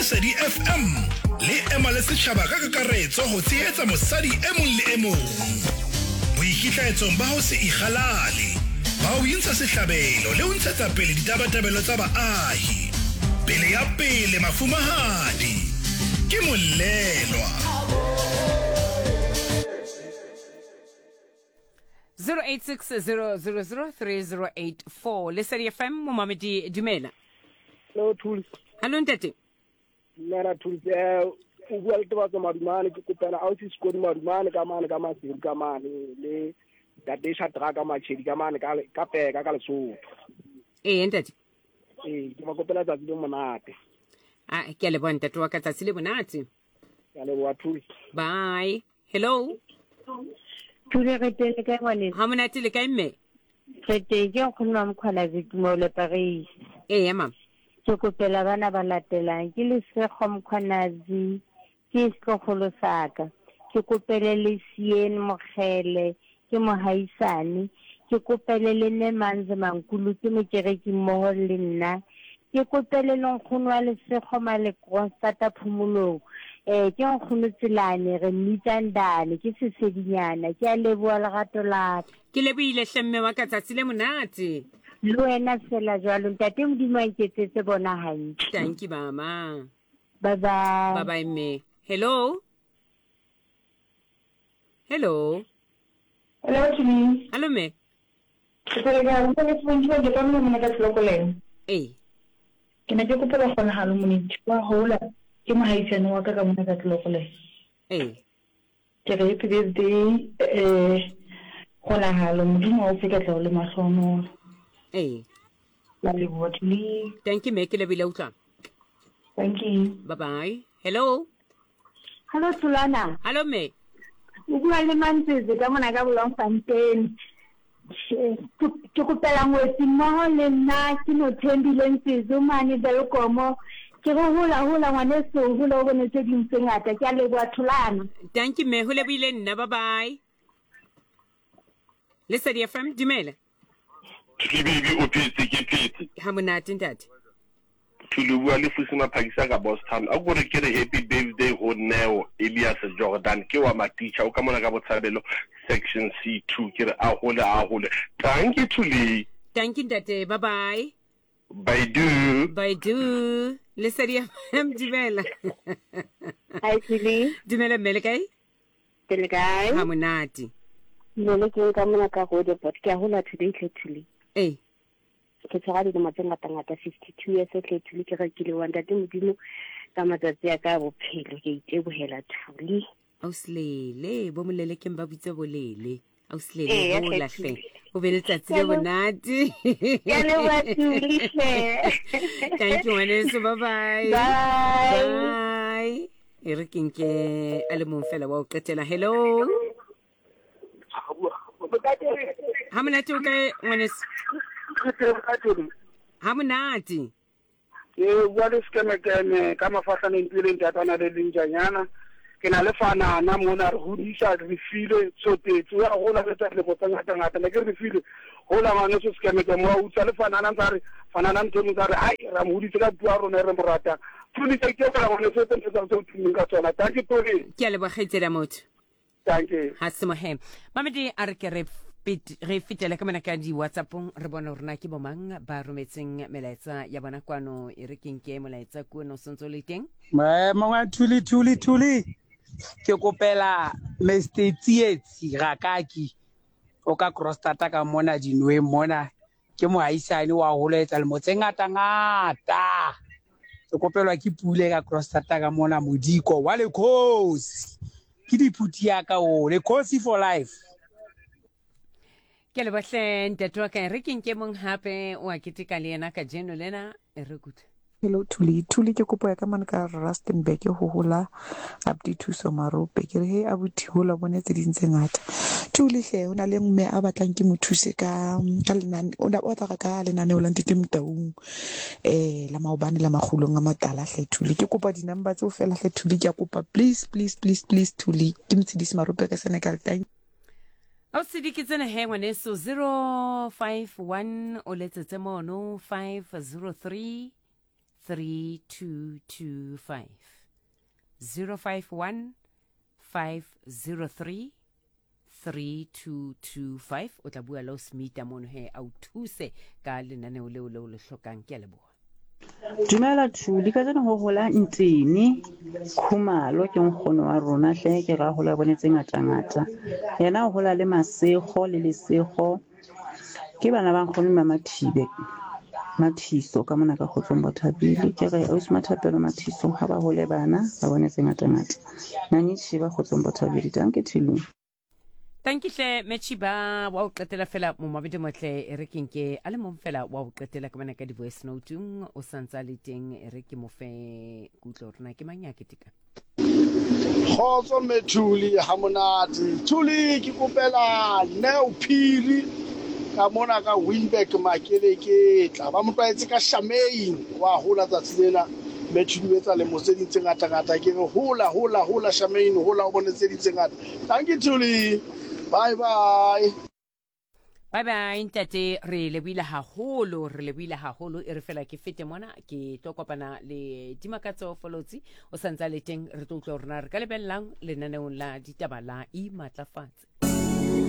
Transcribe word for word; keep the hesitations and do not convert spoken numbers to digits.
Lesedi F M le ema le setjhaba ka kakaretso ho tshehetsa mosadi e mong le e mong. Boikitlaetsong ba ho se ikgalale, ba ho intsha sehlabelo le ho ntshetsa pele ditabatabelo tsa baahi. Pele ya pele mafumahadi ke molelwa. zero eight six zero zero zero three zero eight four. Lesedi F M, momamedi, dumela. Hello, Thuls. Hello, ntate. Dumela, Thuls. Eh, o bua le Tebatso Madumane, ke kopela ausi Sekodi Madumane ka mane ka Maseru ka mane le Ntate Shadraka Machedi ka mane ka ka Peka ka Lesotho. Eh, ntate. Eh, ke ba kopela tsatsi le monate. Ah, ke a leboha ntate wa ka, tsatsi le monate. Ke a leboha, Thuls. Bye. Hello. Thule, re teng le kae ngwaneso? Ha monate le kae mme? Re teng, ke nkgono wa Mokgwalazi Tumelo Paris. Ee, mama. Ke kopela bana ba latelang, ke Lesego Mkhwanazi, ke setlogolo sa ka. Ke kopele le Sien Mokgele, ke mohaisane. Ke kopele le Nemanze Mankulu, ke mokereki mmoho le nna. Ke kopele le nkgono wa Lesego Malekronstata Phomolong. Eh, ke nkgono Tselane, re mmitsa Ndane, ke sesedinyana. Ke a leboha lerato la ka. Ke lebohile hle mme wa ka, tsatsi le monate. Le wena fela jwalo, ntate Modimo a nketsetse bona hantle. Thank you, mama. Bye bye. Bye bye mme. Hello. Hello. Hello, Thuli. Hello mme. Ke tsere ka go le fontšwa ke ka mona ka Tlokoleng. Ee. Ke ne ke kopela kgonagalo monetši wa hola ke mohaisane wa ka ka mona ka Tlokoleng. Ee. Ke re happy birthday, eh, kgonagalo Modimo wa o fe katleho le mahlohonolo. Ee. La leboha, Thuli. Thank you mme, ke lebohile utlwa. Thank you. Bye bye. Hello. Hello, Thulana. Hello mme. O bua le Mantsetse ka mona ka Bloemfontein. Ke kopela ngwetsi mmoho le nna, ke Nothembile Ntsetse mane Welkom. Ke re hola, hola ngwaneso, hola o bone tse ding tse ngata. Ke a leboha, Thulana. Thank you mme, ho lebohile nna. Bye bye. Lesedi F M, dumela. Thuli baby, o phetse, ke phetse. Ha monate ntate. Thuli, bua le Fusi Maphakisa ka Boston. A ko re ke re happy birthday ho Neo Elias Jordan, ke wa Maticha, o ka mona ka Botshabelo section C two. Ke re a hole, a hole. Thank you, Thuli. Thank you ntate. Bye bye. Bye do. Bye do. Lesedi F M, dumela. Hi Thuli. Dumela mme, le kae? Ke le kae? Ha monate. Lele ke ka mona ka Roodepoort. Ke a hola today hle Thuli. Ee. Ke tshwara dilemo tse ngata-ngata, fifty-two years hle Thuli, ke rekile wa ntate Modimo ka matsatsi a ka a bophelo, ke itebohela Thuli. Ausilele, bo molele ke mba bitse bolele. Ausilele, Ee, hola hle, hle. Thuli. O be letsatsi le Ke a leboha. monate. Ke a leboha, Thuli, hle. Thank you ngwaneso, bye bye. Bye. Bye. E re ke nke a le mong fela wa ho qetela. Hello. Ha monate o kae ngwaneso? Ha monate. Ke bua le Sekemekeme ka Mafahlaneng pele ntatana le Lenjanyana. Ke na le fanana mona re hodisa re file tsotetse ya hola le tsa lemo tse ngata ngata ne ke re file hola ngwaneso Sekemekeme wa utswa le fanana ntse re fanana ntho ntse re ai ra mo hodisa ka puo ya rona e re mo ratang. Thuli ke ke ka ngwaneso tse ntse tsa o tumeng ka tsona. Thank you Thuli. Ke a leboha kgaitsedi ya motho. Thank you. Ha se mohe. Mamedi a re ke re pet-, re fetele ka mona ka di-WhatsApp-ong, re bone hore na ke bo mang ba rometseng melaetsa ya bona kwano. E re ke nke molaetsa kwano o sentse o le teng. Maemo a Thuli, Thuli, Thuli. Ke kopela Mister Tsietsi Rakaki o ka Krostata ka mona dinweng mona. Ke mohaisane wa holo etsa lemo tse ngata ngata. Ke kopelwa ke Pule ka Krostata ka mona Modiko wa Lekhosi. Ke diphuthi ya ka o Lekhosi for life. Ke lebohle ntate wa ka, re ke nke mong hape o a keteka le yena kajeno lena, e re kutlwe. Hello Thuli. Thuli, ke kopo ya ka mane ka Rustenburg ho hola Abdi Thuso Marope. Ke re he abuti hola bone tse ding tse ngata. Thuli hle, ho na le mme a batlang ke mo thuse ka, ka lenane, o na o tla ka lenaneo la Ntate Motaung, eh, la maobane la makgulong a matala hle Thuli. Ke kopa di-number tseo fela hle Thuli, ke a kopa please, please, please, please Thuli. Ke Motshidisi Marope ka Senekal. Thank Ausi ke tsena he ngwaneso, zero five one o letsetse mono five zero three three two two five. Zero five one five zero three three two two five. O tla bua le o Smita mono he a o thuse ka lenaneo leo leo le hlokang. Ke a leboha. Dumela Thuli, ka jeno ho hola Ntini Khumalo ke nkgono wa rona hle, ke ra hola bone tse ngata-ngata. Yena o hola le Masego le Lesego, ke bana ba nkgono ba Mathibe Mathiso ka mona ka Kgotsong Bothabile. Ke re ausi Mathapelo Mathiso ha ba hole bana ba bone tse ngata-ngata. Nani Chiba Kgotsong Bothabile, danke Thulu. Thank you hle Mechiba wa o qetela fela momabedi motle, e re ke nke a le mong fela wa o qetela ka bana ka di-voice note-ung o santsa le teng, e re ke mo fe kutlo rona ke mang ya keteka. Kgotso Methuli, ha monate. Thuli, ke kopela Neo Phiri ka mona ka Winburg Makeleketla. Ba mo tlwaetse ka Shamaine, wa hola tsatsi lena. Methuli o etsa lemo tse ding tse ngata-ngata. Ke re hola, hola, hola Shamaine, hola o bone tse ding tse ngata. Thank you Thuli. Bye bye. Bye bye ntate, re lebohile haholo, re lebohile haholo. E re fela ke fete mona ke tlo kopana le Dimakatso Folotsi o santsa le teng, re tlo utlwa hore na re ka lebellang lenaneong la ditaba la Imatlafatse.